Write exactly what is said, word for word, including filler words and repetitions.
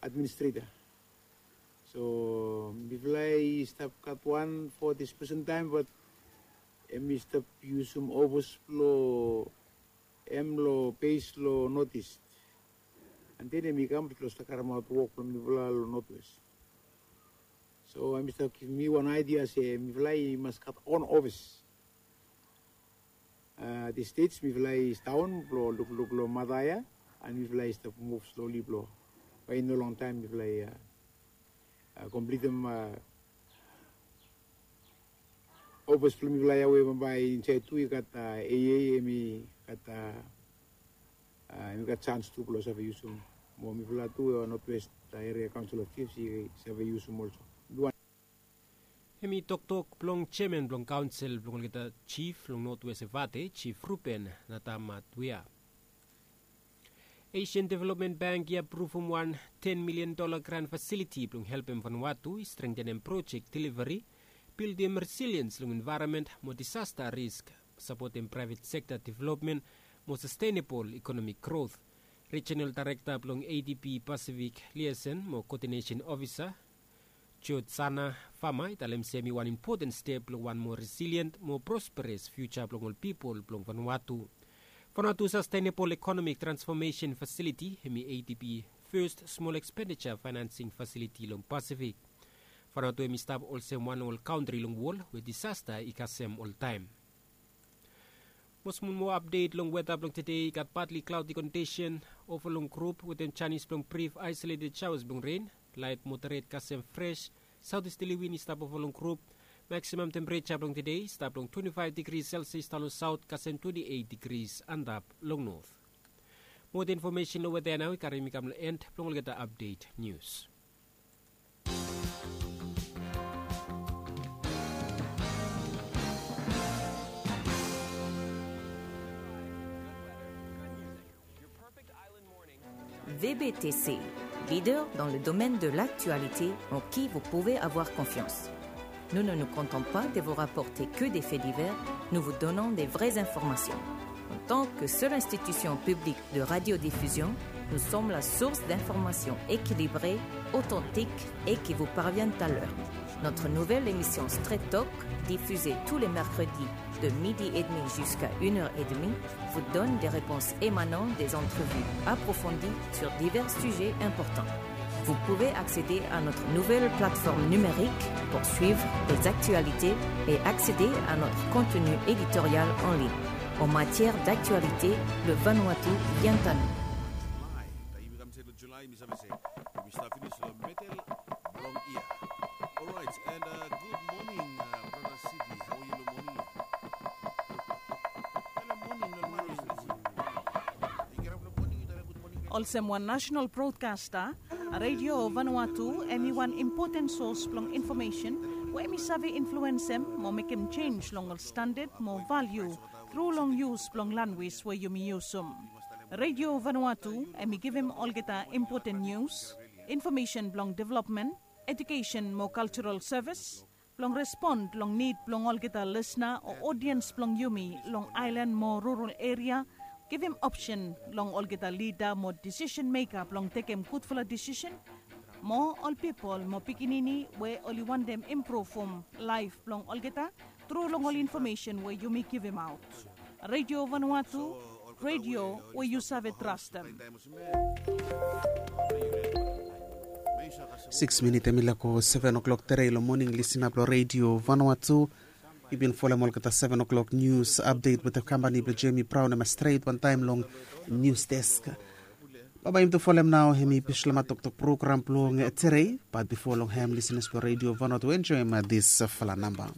administrator. So mifala i stap gat wan for this present time, but em i stap yusum ofis blo em lo base lo North East. And then em i kam blo stap karemaot wok blo mifala lo North West. So em i stap givim mi wan idea se mifala i mas gat on ofis. Uh, the states mifala i staon blo lukluk lo mata ya, and mifala i stap move slowly blo by no long time mifala i uh, uh, completem uh, office blo mifala ya we bambae insait tu i gat uh, A A, em i gat uh, uh, em i gat chance tu blo save yusum mo mifala tu uh, Northwest uh, Area Council of Chiefs i save yusum also. Duan. Hem i toktok blong jeaman blong kaonsel blong olgeta jif long Notwes Evate, Jif Ruben Natamatuia. Asian Development Bank i apruvum wan ten milian dola gran fasiliti blong helpem Vanuatu i strengtenem projek deliveri, bildim resiliens long envaeronmen mo disasta risk, sapotem praevet sekta developmen mo sastenebol ekonomik grot. Rijonal daerekta blong A D B Pasifik Liason mo Koodinesen Ofisa Jotsana Fama i talem se hem i wan impoten step blong wan moa resilient, moa prosperes fiuja blong ol pipol blong Vanuatu. Vanuatu Sastenebol Ekonomik Transfomesen Fasiliti hem i A D B fes smol ekspendija faenansing fasiliti long Pasifik. Vanuatu hem i stap olsem wan ol kantri long wol we disasta i kasem oltaem. Mo smol moa apdet long weta blong tede, i gat patli klaodi kondisen, ova long grup wetem janis blong brif aesoleted shaoas blong ren, laet moderet kasem fres, saotesterli win i stap ova long grup, maksimam tempereja blong tede i stap long twenti faef digri Celsius daon long saot kasem twenti eit digri antap long not. Moa infomesen long weta ya nao i karim mi kam long en blong olgeta apdet nius. V B T C, leader dans le domaine de l'actualité en qui vous pouvez avoir confiance. Nous ne nous contentons pas de vous rapporter que des faits divers, nous vous donnons des vraies informations. En tant que seule institution publique de radiodiffusion, nous sommes la source d'informations équilibrées, authentiques et qui vous parviennent à l'heure. Notre nouvelle émission Straight Talk, diffusée tous les mercredis de midi et demi jusqu'à une heure et demie, vous donne des réponses émanant des entrevues approfondies sur divers sujets importants. Vous pouvez accéder à notre nouvelle plateforme numérique pour suivre les actualités et accéder à notre contenu éditorial en ligne. En matière d'actualité, le Vanuatu vient à nous. July, taem i kam se long July, mi save se yumi stap finis long medel blong yia. Alright, and uh, good morning, uh, brother Sidi. How are you long moning ya? Hello, moning, long moning. Olsem wan national broadcaster, Radio Vanuatu hem i wan impoten sos blong infomesen we hem i save influensem mo mekem jenj long ol standad mo valiu tru long yus blong lanwis we yumi yusum. Radio Vanuatu hem i givim olgeta impoten nius, infomesen blong developmen, ejukesen mo kaljoral sevis, blong respon long nid blong olgeta lisna o odiens blong yumi long aelan mo rural eria, givim opsen long olgeta lida mo disisen meka blong tekem gudfala disisen, mo ol pipol mo pikinini we oli wantem impruvum laef blong olgeta tru long ol infomesen we yumi givimaot. Radio Vanuatu, radio we yu save trastem. Sikis minit hem i laek go seven o'clock tere long moning, lisenap long Radio Vanuatu. Yu bin folem olgeta seven o'clock nius apdet wetem kampani blong Jemi Braon, hem stret wantaem long nius desk. Bambae yumi tu folem nao hem i Bislama Toktok program blong tere, bat bifo long hem, lisenas blong Radio Vanuatu, enjoem disfala namba.